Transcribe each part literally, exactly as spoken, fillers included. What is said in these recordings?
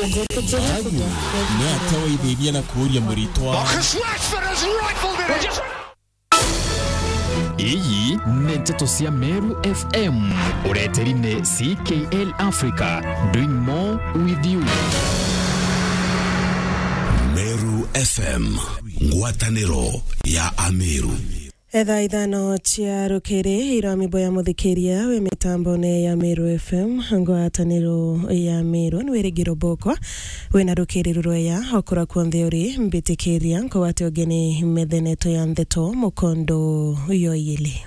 Agu ni atawaithirie na kuuria muritwa. Marcus Rashford has rifled it in. Iji ni nteto cia Meru F M, ureteri ni C K L Africa, doing more with you. Meru F M, ngwataniro ya Ameru. Etha ithano cia rukiri, irami boya muthikiria wi mitambone ya Meru F M, ngwataniro ya Meru, ni wirigiro bokwa wina rukiri rurweya okura kwonthe uri, mbitikiria nkugwate ugeni metheneto ya ntheto mukondo yoyili.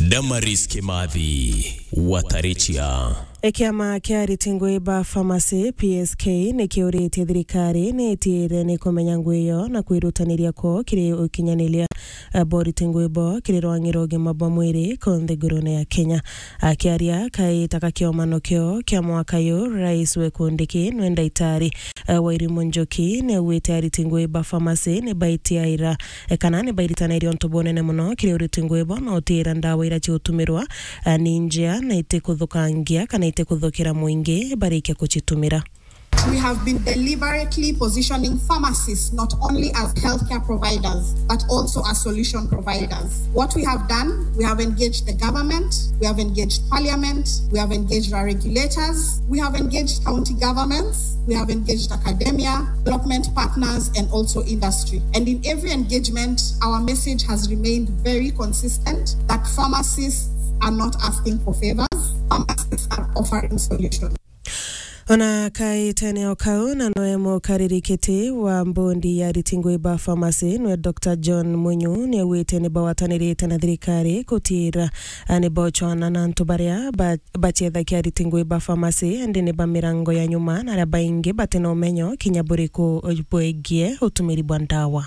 Damaris Kimathi, Watarichia. Kiama kia ariti ngui ba pharmacy, P S K, ni kiuritie thirikari ni itiire ni kumenya ngui iyo na kwirutaniria kwoo kiri ukinyaniria, eh, boriti ngui bo kiri rwang'i rwa ugima bwa mwiri konthe ngurune ya Kenya. Akiaria kaita ka kiomano kio kia mwaka yu, Rais we Kindiki nwe ndaitari, eh, Wairimu Njuki ni augite ariti ngui ba pharmacy ni baitiaira, eh, kana ni bairitanairie untu bunene muno kiri uriti ngui bo na utiira ndawa iria ciutumirwa, eh, ni njea na itikuthukangia kana itikuthukira mwingi barikia kucitumira. We have been deliberately positioning pharmacists not only as healthcare providers, but also as solution providers. What we have done, we have engaged the government, we have engaged parliament, we have engaged our regulators, we have engaged county governments, we have engaged academia, development partners, and also industry. And in every engagement, our message has remained very consistent that pharmacists are not asking for favors, pharmacists are offering solutions. Ona kaitene o kau, na noe mukariri kiti wa mbondi ya ariti ngui ba pharmacy, nwe Doctor John Munyu, ni augite ni bawatanirite na thirikari kutiira, a, ni bocwana na antu baria ba-, bacethagia ariti ngui ba pharmacy, indi ni ba mirango ya nyuma, na aria baingi batina umenyo kinya buriku bwegie utumiri bwa ndawa.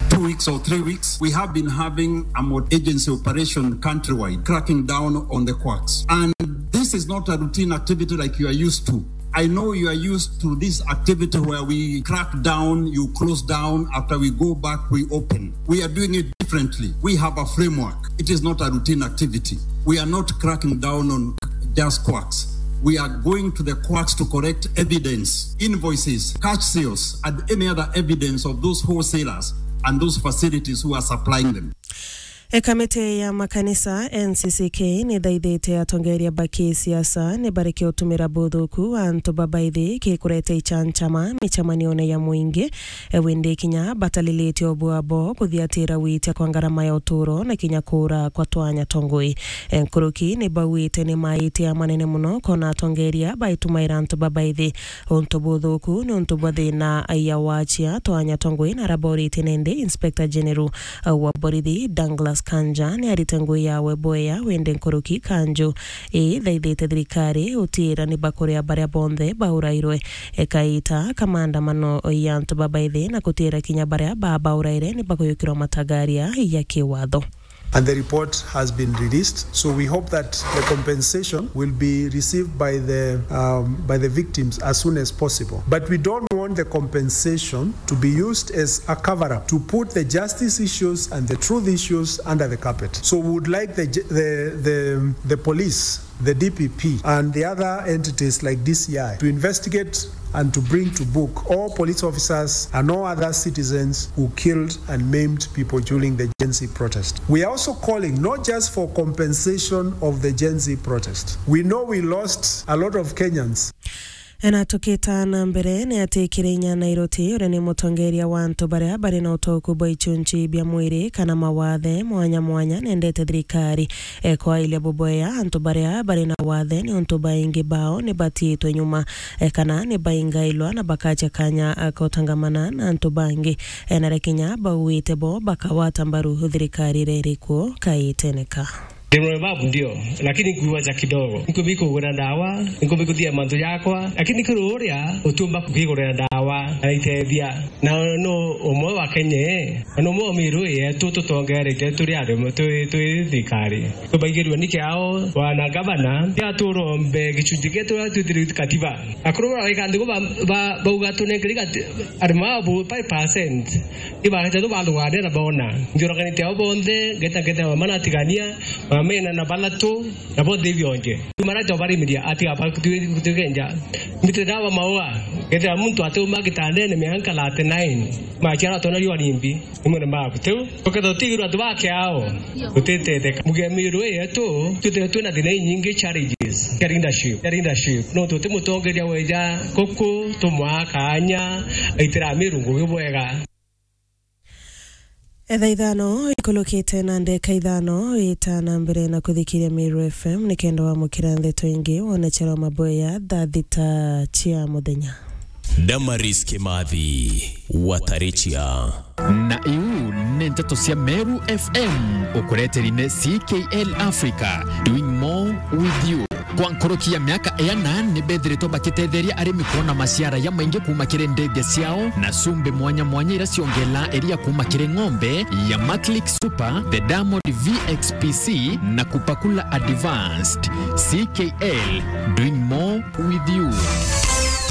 Two weeks or three weeks, we have been having a multi-agency operation countrywide, cracking down on the quacks. And this is not a routine activity like you are used to. I know you are used to this activity where we crack down, you close down, after we go back, we open. We are doing it differently. We have a framework. It is not a routine activity. We are not cracking down on just quacks. We are going to the quacks to collect evidence, invoices, cash sales, and any other evidence of those wholesalers and those facilities who are supplying them. E, kamiti ya makanisa, N C C K, ni thaithite atongeria ba kisiasa ni bareke utumira buthuku wa antu babaithi ki kureta ichanchama michamanione ya mwingi. E, windi kinya batalilite o bwabo kuthiatira gwitia kwa ngarama ya uturo na kinya kuura kwa twanya twa ngui. E, nkuruki ni bauite ni maite a manene muno kona atongeria baitumaira antu babaithi. Untu buthuku ni untu bwa thina ya wachia twanya twa ngui na araborite nende Inspector General wa borithi Douglas Kanja ni arite ngui yawe bweya windi nkuruki kanju ithaithite thirikari utiira ni bakuria baria bonthe baurairwe. Ekaita ka maandamano ya antu babaithi na kutiira kinya baria babauraire ni bakuyukirwa matagaria ya kiwatho. And the report has been released. So we hope that the compensation will be received by the, um, by the victims as soon as possible. But we don't want the compensation to be used as a cover-up to put the justice issues and the truth issues under the carpet. So we would like the, the, the, the police, the D P P, and the other entities like D C I to investigate and to bring to book all police officers and all other citizens who killed and maimed people during the Gen Z protest. We are also calling not just for compensation of the Gen Z protest. We know we lost a lot of Kenyans. Na tukita na mbere, ni ati Kirinya Nairoti, uria ni mutongeria wa antu baria bari na utoku bwa ichunchi bia mwiri kana mawathe mwanya mwanya, nendete thirikari, e, kwailia bubwea antu baria bari na wathe, ni untu baingi bao ni batiitwe nyuma, e, kana ni baingailwa na bakacha kanya, a, kotangamana na antu bangi. E, na rikinya bauite bo bakawata mbaru thirikari iria iri kuo kaitene ka. Ndimwe babu ndio, lakini nkuiwacha kidogo. Nkubi kugura ndawa, nkubi kuthia mantu yakwa, lakini kuri uria utiumba kugigurira ndawa, araitethia. Na no umwe wa Kenya, na no umwe wa miru yetu tutongerete turi ari twi, twi thirikari. Tubaigirwe ni kiao, wana gavana, ya turombe gichunji gietu ya twithiri katiba. Akuru bara weka ndugu ba, ba, bauga tunengeri kati-, ari mabu five percent. Ibaretete bathugania na bona. Nthioraganite ao bonthe, ngeta ngeta mama natigania, mamena na balatu, na bonthe ibionje. Imarete obarimiria, ati apa kutugenja. Mbite dawa maua. Kethira muntu atiuma gitandene mianka thirty-nine, machiara atona riua rimbi, ni mwene maku tiu. Tukethira tutigirwa antu ba kiao, tutitetheka. Mugia miiru ii yetu, twithirwe twina thina inyingi, challenges cia leadership, cia leadership. Nontu ti mutongeria weja kuku, tumwaa kaanya, aitira miiru ngugi bwega. Etha ithano ikulukite na ndeka ithano, ita na mbere na kuthikiria Meru F M nikenda wamukira ndeto ingi wona charo maboya thaa thita cia muthenya. Damaris Kimathi, Watarichia. Na iu ni nteto cia Meru F M, ukureteri ni C K L Africa, doing more with you. Kwa nkuruki ya miaka iana, ni bethiritwe bakitetheria arimi kwona maciara jamaingi kuuma kiri ndithia ciao, na cumbi mwanya mwanya iria ciongeelaa iria kuuma kiri ng'ombe ya Maclick Super, the Diamond V X P C, na Kupakula Advanced. C K L, doing more with you.